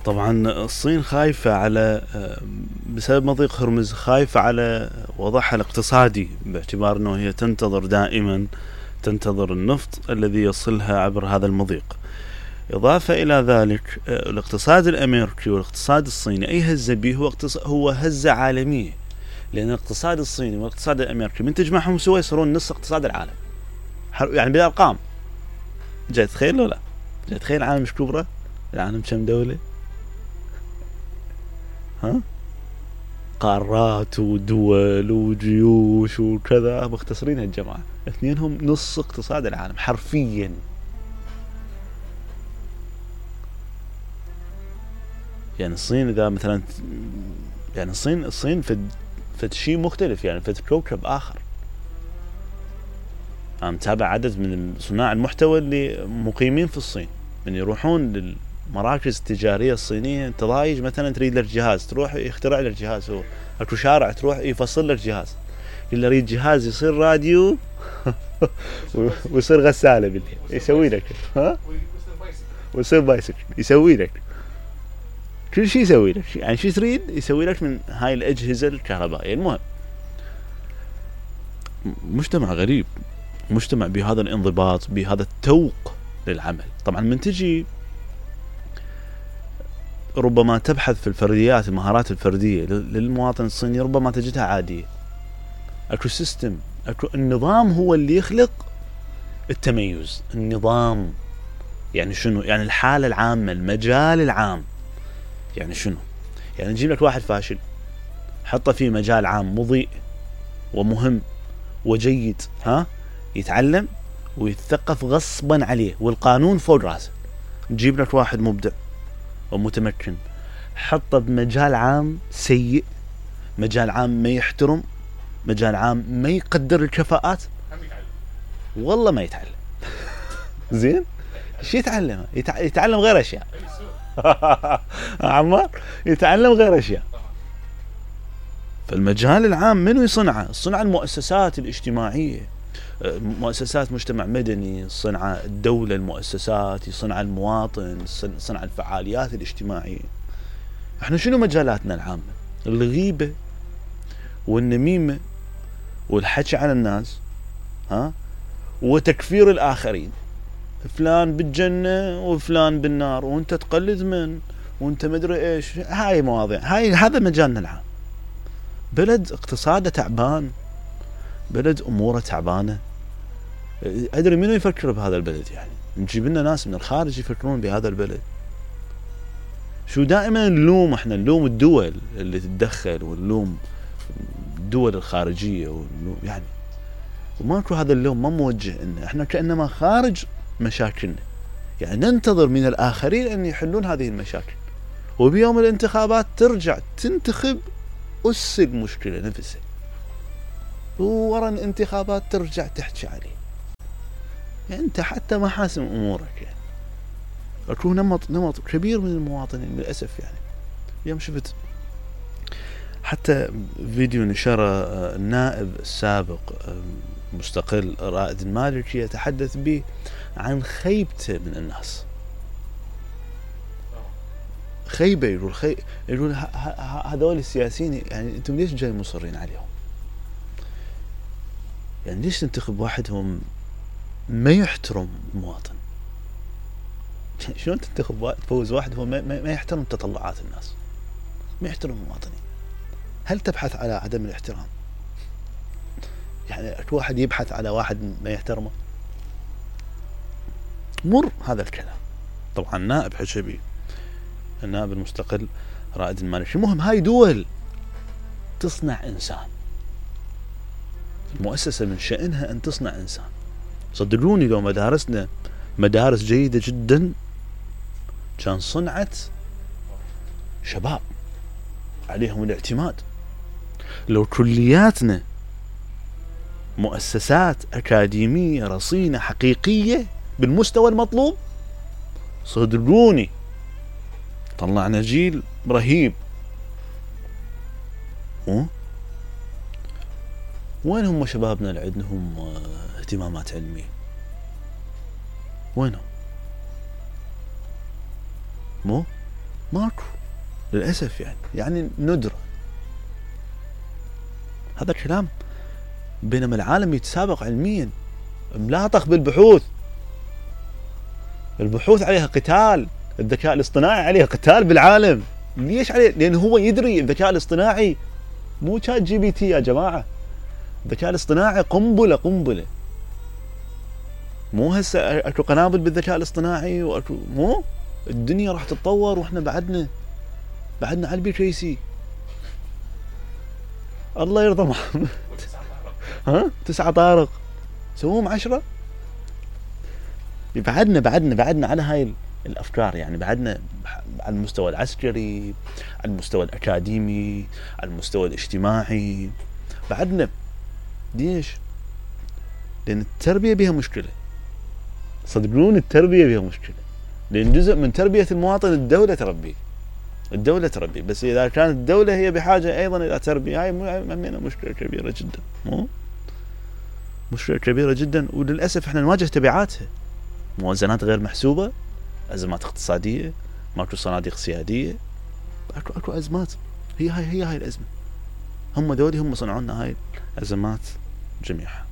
طبعا الصين خايفة على بسبب مضيق هرمز، خايفة على وضعها الاقتصادي، باعتبار انه هي تنتظر دائما النفط الذي يصلها عبر هذا المضيق. إضافة إلى ذلك الاقتصاد الأمريكي والاقتصاد الصيني أي هزة به هو هزة عالمية، لأن الاقتصاد الصيني والاقتصاد الأمريكي من تجمعهم سوا يصيرون نص اقتصاد العالم، يعني بالأرقام. جاي تخيل لو لا؟ جاي تخيل العالم مش كبرى؟ العالم كم دولة؟ ها؟ قارات ودول وجيوش وكذا، مختصرين هالجماعة، اثنينهم نص اقتصاد العالم حرفيا. يعني الصين إذا مثلا، يعني الصين فد شيء مختلف، يعني فد كوكب آخر. أنا متابع عدد من صناع المحتوى اللي مقيمين في الصين، من يروحون للمراكز التجارية الصينية. انت ضايج مثلا تريد لك جهاز، تروح يخترع لك جهاز، هو اكو شارع تروح يفصل لك جهاز. اللي يريد جهاز يصير راديو ويصير غسالة بالليل يسوي لك، ها، ويصير بايسكل يسوي لك كل شيء، يسوي لك يعني شو تريد يسوي لك من هاي الأجهزة الكهربائية. المهم مجتمع غريب، مجتمع بهذا الانضباط، بهذا التوق للعمل. طبعا من تجي ربما تبحث في الفرديات، المهارات الفردية للمواطن الصيني، ربما تجدها عادية. اكو سيستم، اكو النظام هو اللي يخلق التميز. النظام يعني شنو؟ يعني الحالة العامة، المجال العام. يعني شنو؟ يعني نجيب لك واحد فاشل، حطه في مجال عام مضيء ومهم وجيد، ها، يتعلم ويتثقف غصبا عليه والقانون فوق راسه. نجيب لك واحد مبدع ومتمكن، حطه بمجال عام سيء، مجال عام ما يحترم، مجال عام ما يقدر الكفاءات، والله ما يتعلم. زين، شو يتعلم؟ يتعلم غير اشياء. عمار يتعلم غير اشياء. فالمجال العام منو يصنعه؟ صنع المؤسسات الاجتماعية، مؤسسات مجتمع مدني، صنع الدولة، المؤسسات، يصنع المواطن، صنع الفعاليات الاجتماعية. احنا شنو مجالاتنا العامة؟ الغيبة والنميمة والحكي على الناس، ها، وتكفير الآخرين. فلان بالجنة وفلان بالنار، وانت تقلد من، وانت مدري ايش. هاي مواضيع، هذا مجالنا العام. بلد اقتصاده تعبان، بلد اموره تعبانة. ادري منو يفكر بهذا البلد؟ يعني نجيب لنا ناس من الخارج يفكرون بهذا البلد. شو دائما نلوم؟ احنا نلوم الدول اللي تتدخل، ونلوم الدول الخارجية، ونلوم يعني، وماكو هذا اللوم، ما موجه إن احنا كأنما خارج مشاكلنا، يعني ننتظر من الآخرين أن يحلون هذه المشاكل، وبيوم الانتخابات ترجع تنتخب أس المشكلة نفسها، وورا الانتخابات ترجع تحكي عليه. يعني أنت حتى ما حاسم أمورك. يعني أكو نمط كبير من المواطنين للأسف. يعني يوم شفت حتى فيديو نشره النائب السابق مستقل رائد المالكي يتحدث به عن خيبته من الناس. خيبة، يقول هذول السياسيين، يعني انتم ليش جاي مصرين عليهم؟ يعني ليش تنتخب واحدهم ما يحترم المواطن؟ شلون تنتخب تفوز واحد هو ما يحترم تطلعات الناس، ما يحترم المواطنين؟ هل تبحث على عدم الاحترام؟ يعني واحد يبحث على واحد ما يحترمه؟ مر هذا الكلام. طبعا نائب حشبي، النائب المستقل رائد المالكي. المهم هاي دول تصنع إنسان، المؤسسة من شأنها أن تصنع إنسان. صدقوني لو مدارسنا مدارس جيدة جدا كان صنعت شباب عليهم الاعتماد. لو كلياتنا مؤسسات أكاديمية رصينة حقيقية بالمستوى المطلوب، صدقوني طلعنا جيل رهيب. وين هم شبابنا اللي عندهم اهتمامات علمية؟ وينهم؟ مو ماكو للأسف. يعني ندرة هذا الكلام. بينما العالم يتسابق علميا، ملاطخ بالبحوث، البحوث عليها قتال، الذكاء الاصطناعي عليه قتال بالعالم. ليش عليه؟ لأن هو يدري الذكاء الاصطناعي مو شات جي بي تي يا جماعة. الذكاء الاصطناعي قنبلة. مو هسه اكو قنابل بالذكاء الاصطناعي واكو، مو الدنيا راح تتطور واحنا بعدنا على البي كي سي. الله يرضى محمد. ها 9 طارق سووهم 10. بعدنا على هاي الافكار. يعني بعدنا على المستوى العسكري، على المستوى الاكاديمي، على المستوى الاجتماعي بعدنا. ليش؟ لان التربية بها مشكلة. صدقون التربية بها مشكلة، لان جزء من تربية المواطن الدولة تربي. بس اذا كانت الدولة هي بحاجة ايضا الى تربية، هاي مشكلة كبيرة جدا. مشكلة كبيرة جدا، وللأسف احنا نواجه تبعاتها. موازنات غير محسوبة، أزمات اقتصادية، ماكو صناديق سيادية، اكو أزمات. هي هاي الأزمة. هم ذولي هم صنعوا لنا هاي الأزمات جميعها.